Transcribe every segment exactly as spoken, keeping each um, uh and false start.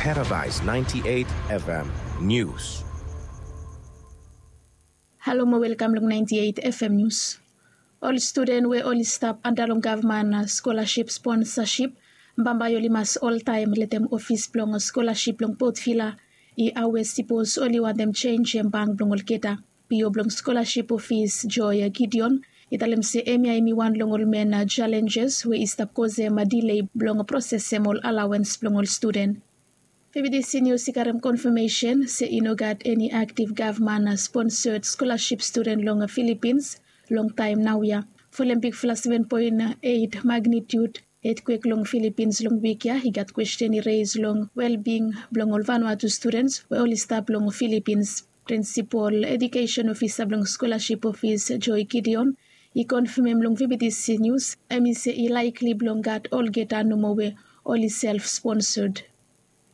Paradise ninety-eight F M News. Halo mo welkam long ninety-eight F M News. Ol studen we oli stap anda long gavman skolaship sponsaship, bambae oli mas oltaem letem ofis blong skolaship long Port Vila i awe sipos oli wantem jenjem bank blong olgeta. P O blong skolaship ofis Joy Gideon i talem se hemia hemi wan long ol men jalenjes we i stap kosem dilei blong prosesem ol alawens blong ol studen. V B T C News i karem konfamesen se i no gat eni aktiv gavman sponsed skolaship studen long Filipins long taem naoia. Folem bigfala seven point eight magnitude etkwek long Filipins long wik ya, i gat kwesten i reis long welbing blong ol Vanuatu studens we oli stap long Filipins. Prinsipol edukesen ofisa blong skolaship ofis Joy Gideon i konfamem long V B T C News, hemi se i laekli blong gat olgeta nomo we oli self sponsored.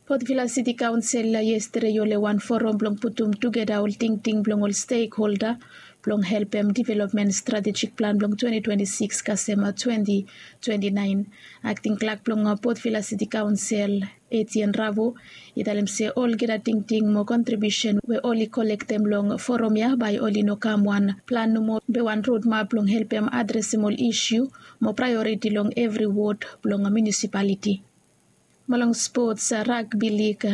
Port Vila City Council yestede i hole wan forum blong putum tugeta ol tingting blong ol stekholda blong helpem developmen stratejik plan blong twenty twenty-six kasem twenty twenty-nine. Akting klak blong Port Vila City Council, Etienne Ravo, i talem se olgeta tingting mo kontribiusen we oli kolektem long forum ya bae oli no kam wan plan nomo be wan rodmap blong helpem adresem ol isu mo praeoriti long evri wod blong munisipaliti. Mo long spots, ragbi lig,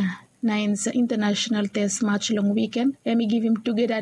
Nines International Test Match long wiken hemi givim tugeta